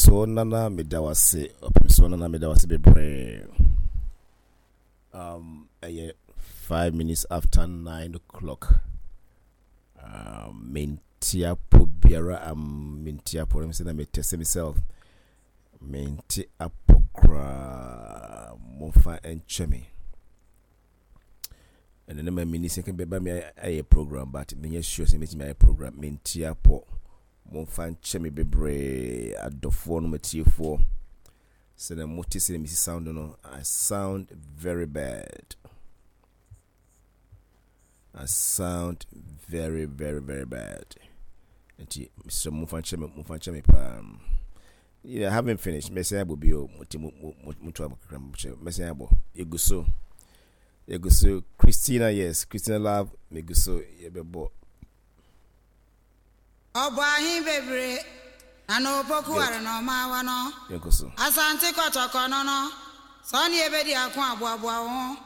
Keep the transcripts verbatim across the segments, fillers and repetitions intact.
Ɔpemsoɔ Nana, meda wo ase. Ɔpemsoɔ Nana, meda wo ase bebree. Um, ɛyɛ five minutes after nine o'clock. Um, mente apɔ biara, um, mente apɔ. Let me say that me test myself. Mente apɔ koraa. Momfa nkyɛ me. Ɛno ne ma mini sɛ bɛba me ayɛ program, but menyɛ sure sɛ mɛtumi ayɛ program. Mente apɔ. Momfa nkyɛ me bebree, adɔfoɔ no, matiefoɔ. Sɛnɛ mote sɛ mesi sound no, I sound very bad. I sound very, very, very bad. Nti mesrɛ momfa nkyɛ me, momfa nkyɛ me paa. Yeah, I haven't finished. Mɛsɛn abɔ bio. Nti mo mo mo mo kakra mo kyerɛ. Mɛsɛn abɔ. Egu so. Egu so. Christina, yes. Christina Love, megu so. Yɛbɛbɔ. Ɔbɔ ahen bebree na na opoku ware na ɔma awa no. Yɛnkɔ so. Asante Kɔtɔkɔ no no sɛ ɔne yɛbɛdi ako aboaboa wo ho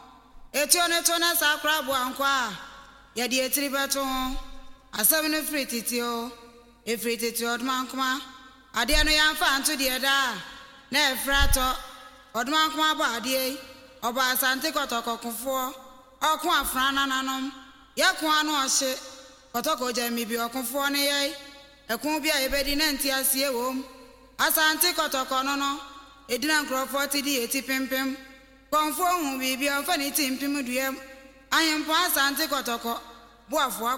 etuo ne to ne saa kora aboa nkɔ a yɛde etiri bɛto ho. Asɛm no firi tete o, efiri tete. Ɔdomankoma adeɛ no yɛmfa anto deɛ daa na ɛfiri atɔ. Ɔdomankoma bɔ adeɛ yi, ɔbɔ Asante Kɔtɔkɔ kofoɔ ɔko afra nananom yɛko ano ɔhye Kɔtɔkɔ gya mi bi ɔkofoɔ ne yɛi ɛko bi a yɛbɛdi na nti aseɛ wɔ mu. Asante Kɔtɔkɔ no no ɛdina nkurɔfoɔ te di yɛti pempem kɔnfoɔ hu biribi a ɔmfa ne ti mpem duam. Ahempɔn Asante Kɔtɔkɔ boafoɔ.